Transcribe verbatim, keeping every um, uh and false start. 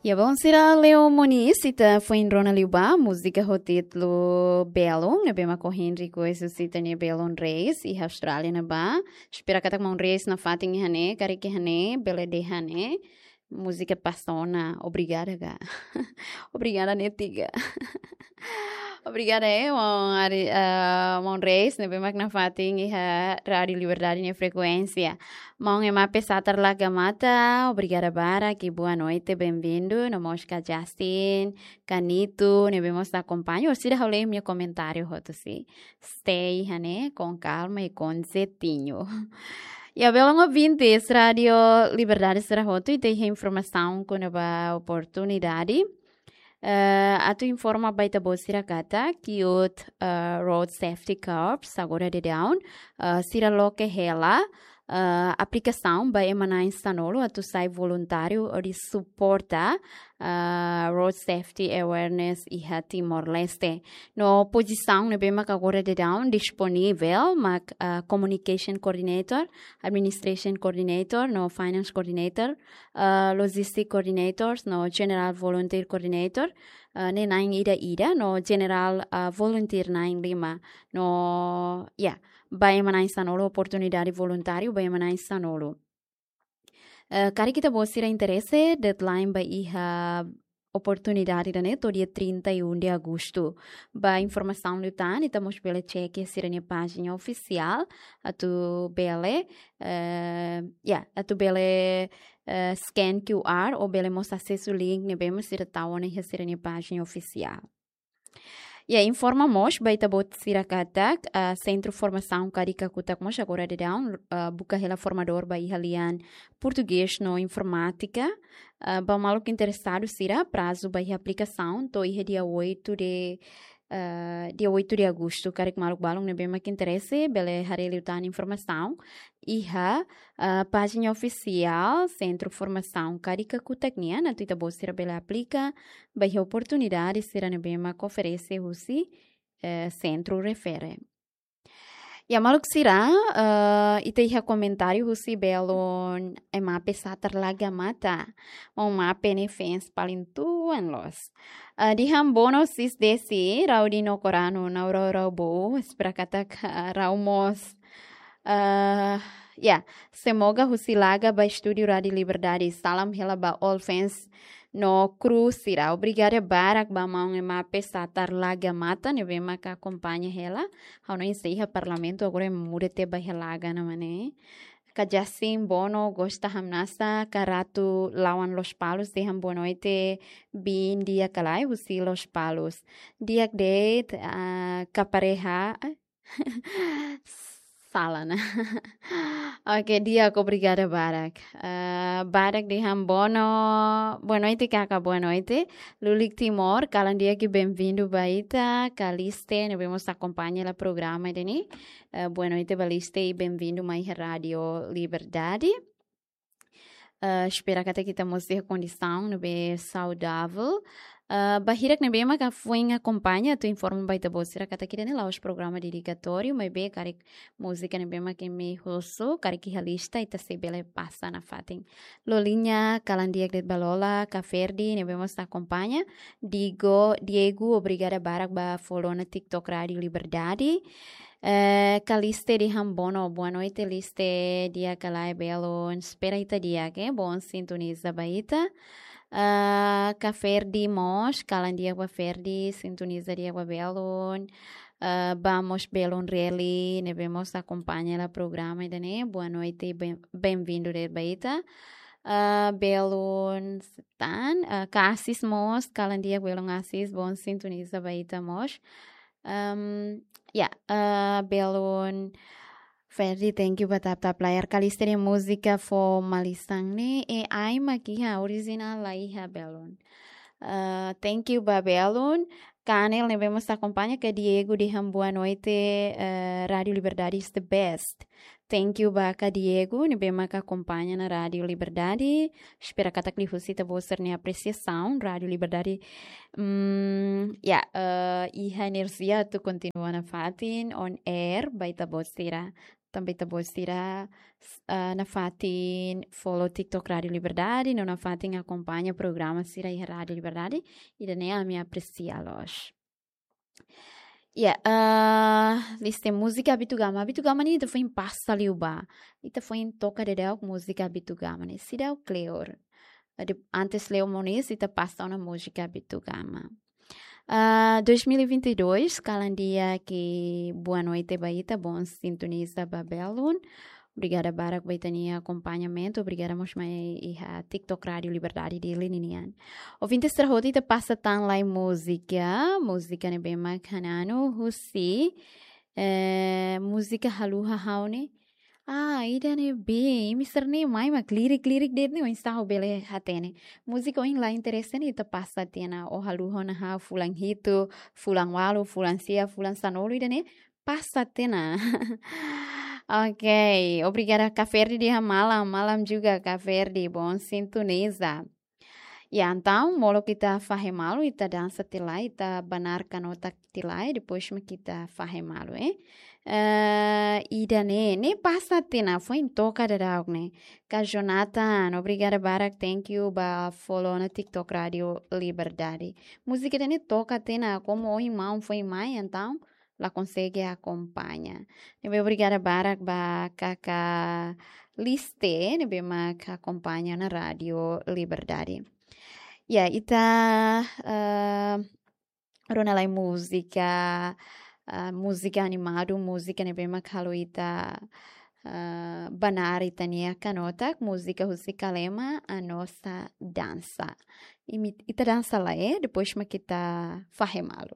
Ya, bom, sira, Leo Moniz, ita foin rona liu ba múzika ho títulu Belun, ne'ebé mak ohin request husi ita-nia Belun Reis, iha Austrália ne'ebá. Espera katak maun Reis nafatin iha ne'e, karik iha ne'e, bele dehan ne'e. Múzika pas ona, obrigada ga. Obrigada ne'e tiga. Obrigada, eh, maun Ari, eh, maun Reis, ne'ebé mak nafatin iha Rádiu Liberdade nia frekuénsia. Maun Emape Satar Laga Mata, obrigada barak, boa noite, bem-vindo. No mós ka Justin, ka Nito, ne'ebé mós akompaña, orsida ha'u lee imi-nia komentáriu hotu, si. Stay iha ne'e, com calma e com jeitinho. Ya, belun ouvintes, Rádiu Liberdade sira hotu, ita iha informasaun kona-ba oportunidade. Eh, atu informa ba ita-boot sira katak, Youth, eh, Road Safety Corps, agora daudaun, eh, sira loke hela, eh, aplikasaun ba ema na'in sanulu atu sai voluntáriu hodi suporta, eh, road safety awareness iha Timor-Leste. No pozisaun ne'ebé mak agora daudaun disponivel mak, eh, communication coordinator, administration coordinator, no finance coordinator, eh, logistic coordinators, no general volunteer coordinator, eh, ne'e na'in ida-ida, no general, eh, volunteer na'in lima, no, ya, ba ema na'in sanulu, oportunidade voluntáriu ba ema na'in sanulu. Eh, karik ita-boot sira interese, deadline ba iha oportunidade ida-ne'e to'o dia trinta e um de agosto. Ba informasaun liután, ita mós bele check sira-nia pájina ofisiál, atu bele, eh, ya, atu bele, eh, scan Q R ou bele mós asesu link ne'ebé mak sira tau ona iha sira-nia pájina ofisiál. Ya, informa mós ba ita-boot sira katak, ah, Sentru Formasaun Kadi Kakutak mós agora daudaun, ah, buka hela formadór ba iha lian Portugés no Informátika, ah, ba maluk interesadu sira, prazu ba iha aplikasaun to'o iha dia oito de, ah, dia oito de agosto. Karik maluk balun ne'ebé mak interese, bele haree liután informasaun iha, ah, pájina ofisiál Sentru Formasaun Kadi Kakutak nian, atu ita-boot sira bele aplika ba iha oportunidade sira ne'ebé mak oferese husi, eh, sentru refere. Ya, maluk sira, eh, ita iha komentáriu husi belun Emape Satar Laga Mata. Maun Emape nia fans paling tuan loos. Eh, dehan bono sis Desi, Raudi no Koranu, nau rau rau bo, espera katak, eh, rau mós. Eh, ya, semoga husi Laga ba estúdiu Rádiu Liberdade. Salam hela ba all fans no kru sira. Obrigada barak ba maun Emape Satar Laga Mata, ne'ebé mak akompaña hela. Ha'u hanoin sei iha Parlamentu, agora muda tiha ba iha Laga ne'e mak ne'e. Ka Jasin Bono, gosta hamnasa, ka Ratu Lawan Lospalos, dehan boa noite, biin di'ak ka lae, husi Lospalos. Di'ak de'it, ah, ka pareha, eh, sala ona. Oke, di'ak, obrigada barak. Ah, barak dehan bono, boa noite, kaka, boa noite. Lulik Timor, kalan di'ak i bem-vindu ba ita, Kaliste, ne'ebé mós akompaña hela programa ida-ne'e. Eh, boa noite, Kaliste, i bem-vindu mai iha Rádiu Liberdade. Eh, espera katak ita mós iha kondisaun ne'ebé saudável. Eh, ba hirak ne'ebé maka foin akompaña, atu informa ba ita-boot sira katak ida-ne'e la'ós programa dedikatóriu, maibé karik múzika ne'ebé mak imi husu, karik iha lista, ita sei bele pasa nafatin. Loliña, kalan di'ak de'it ba Lola, ka Ferdi, ne'ebé mós akompaña. Digo, Diego, obrigada barak ba follow ona TikTok Rádiu Liberdade. Eh, Kaliste dehan bono, boa noite, Liste, di'ak ka lae, belun. Espera ita di'ak, eh, bom sintoniza ba ita. Ah, ka Ferdi mós, kalan di'ak ba Ferdi, sintoniza di'ak ba belun. Ah, ba mós belun Reli, ne'ebé mós akompaña hela programa ida-ne'e. Boa noite, bem, bem-vindu de'it ba ita. Ah, belun Setan, ah, ka Asis mós, kalan di'ak belun Asis, bom sintoniza ba ita mós. Ehm, ya, eh, belun Ferdi, thank you ba tap-tap layar. Kaliste nia múzika fó malisan ne'e, A I mak iha, orijinál la iha, belun. Eh, thank you ba belun. Ka Anel ne'ebé mós akompaña, ka Diego dehan boa noite, eh, Rádiu Liberdade is the best. Thank you ba ka Diego, ne'ebé maka akompaña ona Rádiu Liberdade. Espera katak liuhusi ita-boot sira-nia apresiasaun, Rádiu Liberdade, mm, ya, eh, iha enerjia atu kontinua nafatin on air ba ita-boot sira. tanba ita-boot sira, ah, nafatin follow TikTok Rádio Liberdade, no nafatin akompaña programa sira iha Rádio Liberdade, ida-ne'e ami apresia loos. Ya, ah, lista múzika Abitugama. Abitugama ne'e ita foin pasa liu ba. Ita foin toka daudauk múzika Abitugama ne'e. Seidauk kleur. Ade-, antes Leo Moniz, ita pasa ona múzika Abitugama. Ah, dois mil e vinte e dois, kalan di'ak, boa noite ba ita, bom sintoniza ba Belun. Obrigada barak ba ita-nia akompañamentu, obrigada mós mai iha TikTok Rádio Liberdade Dili ninian. Ouvinte sira hotu, ita pasa tan lai múzika, múzika ne'ebé mak Hananu husi, eh, múzika Haluha Ha'u ne'e. Ah, ida-ne'ebé, imi sira-ne'e mai mak lirik-lirik de'it ne'e, oinsá ha'u bele hatene. Múzika ohin la interese ne'e ita pasa tiha ona, ó haluha ona ha'u fulan hitu, fulan ualu, fulan sia, fulan sanulu, ida-ne'e pasa tiha ona. Ok, obrigada Kak Ferdi iha malam, malam juga Kak Ferdi, bom sintoniza. Ya, entaun, molok ita fahe malu, ita dansa tiha lai, ita banar kanotak tiha lai, depois mak ita fahe malu, eh. Eh, ida-ne'e, ne'e pasa tiha ona, foin toka daudauk ne'e. Kak Jonathan, obrigada barak, thank you ba follow ona TikTok Rádio Liberdade. Múzika ida-ne'e toka tiha ona, komu ohin maun foin mai, entaun la konsege akompaña. Ne'ebé obrigada barak ba Kaka Liste, ne'ebé mak akompaña ona Rádio Liberdade. Ya, ita, eh, rona lai múzika, eh, múzika animadu, múzika ne'ebé mak halo ita, eh, banar ita-nia kanotak, múzika husi Kalema, A Nossa Dança. Imi, ita dansa lai, eh, depois mak ita fahe malu.